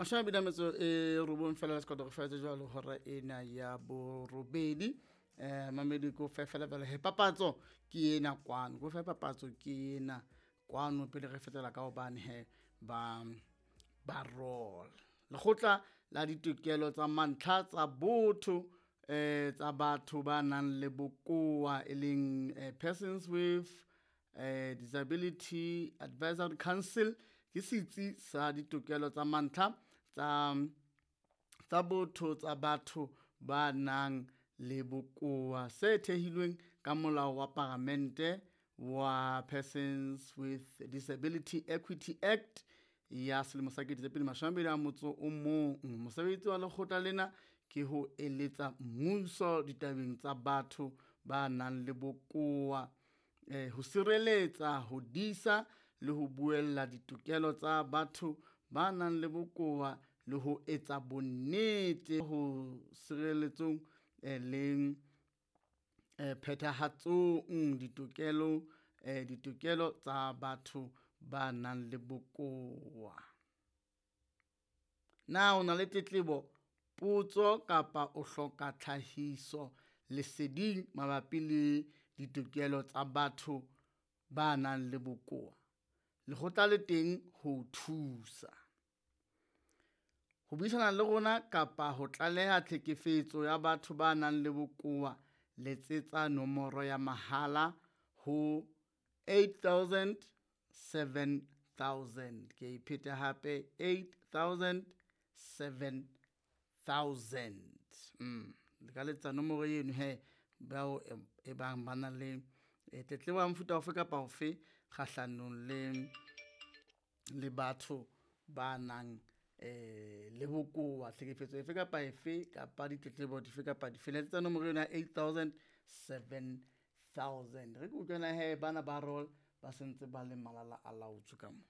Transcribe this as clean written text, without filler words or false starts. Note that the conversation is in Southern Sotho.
29 fela le sekota go fetse jwalo hora ena ya borobedi. Mamedi ko fe fela fela he papatso ke ena kwano, ko fe papatso ke ena kwano pele re fetela ka hobane he ba ba roll. Lekgotla la ditokelo tsa mantlha tsa botho tsa batho ba nang le bokowa e leng Persons with Disability Advisory Council ke setsi sa ditokelo tsa mantlha tsa tsa botho tsa batho ba nang le bokowa se thehilweng ka molao wa paramente wa Persons with Disability Equity Act ya selemo sa 2021. Mosebetsi wa lekgotla lena ke ho eletsa mmuso ditabeng tsa batho ba nang le bokowa, ho sireletsa, ho disa le ho buella ditokelo tsa batho ba nang le bokowa le ho etsa bonnete ho sireletsong le phethahatsong ditokelo ditokelo tsa batho ba nang le bokowa. Na o na le tletlebo, potso kapa o hloka tlhahiso leseding mabapi le ditokelo tsa batho ba nang le bokowa? Lekgotla le teng ho o thusa. Ho buisana le rona kapa ho tlaleha tlhekefetso ya batho ba nang le bokowa, letsetsa nomoro ya mahala ho 8000 7000. Ke a ipheta hape 8000 7000. Le ka letsa nomoro eno he bao e bang ba na le tletlebo ya mofuta ofe kapa ofe kgahlanong le le batho ba nang le bokowa, tlhekefetso efe kapa efe kapa ditletlebo dife kapa dife. Letsetsa nomoro eno ya 8000 7000. Re ke utlwana he bana ba roll ba sentse ba le malala a laotswe ka mo.